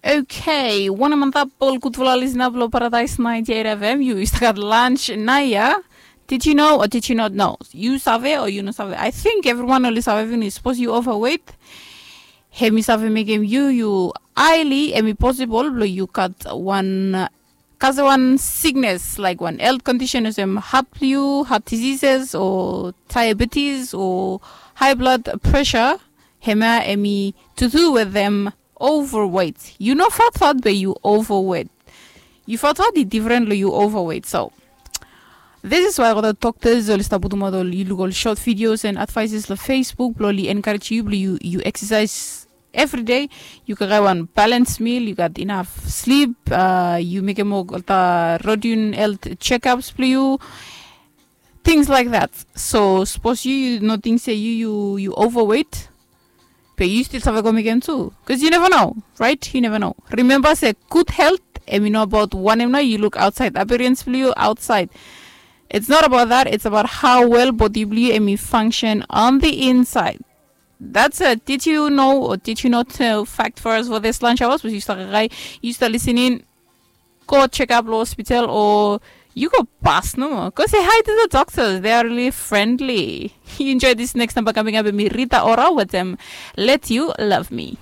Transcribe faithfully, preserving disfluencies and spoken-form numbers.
Okay, wanem antap ol gudfala lisna blong Paradise ninety-eight F M, yu stap gat lunch naia. Did you know or did you not know? Yu save o yu no save? I think everyone oli save finis. Suppose yu overweight, hem i save mekem yu yu highly, hem i possible blong yu gat one, uh, kasem one sickness, like one health condition, olsem heart blong yu, heart diseases o diabetes o high blood pressure. Hemia hem i to do with them overweight. Yu no fatfat be yu overweight. Yu fatfat i different long yu overweight. So this is why ol doctors oli stap putumaot ol, yu luk ol short videos and advices long Facebook blong oli encourage yu blong yu, yu exercise every day. Yu kaikai wan balance meal, yu gat enough sleep, uh, yu mekem olgeta routine health checkups blong yu, things like that. So suppose yu, yu no ting se yu, yu, yu overweight, be yu still save go mekem tu, 'cause you never know, right? You never know. Remember se good health hem i no about wanem nao yu luk outside, appearance blong yu outside. It's not about that. It's about how well body blong yu hem i function on the inside. That's it. Did you know or did you not know? Fact for us for this lunch hours was yu stap kaikai, yu stap listening, go check up long hospital o yu go pass nomo. Go say hi to the doctors. They are really friendly. Yu enjoy this next number coming up, and mi Rita Ora with them. Let you love me.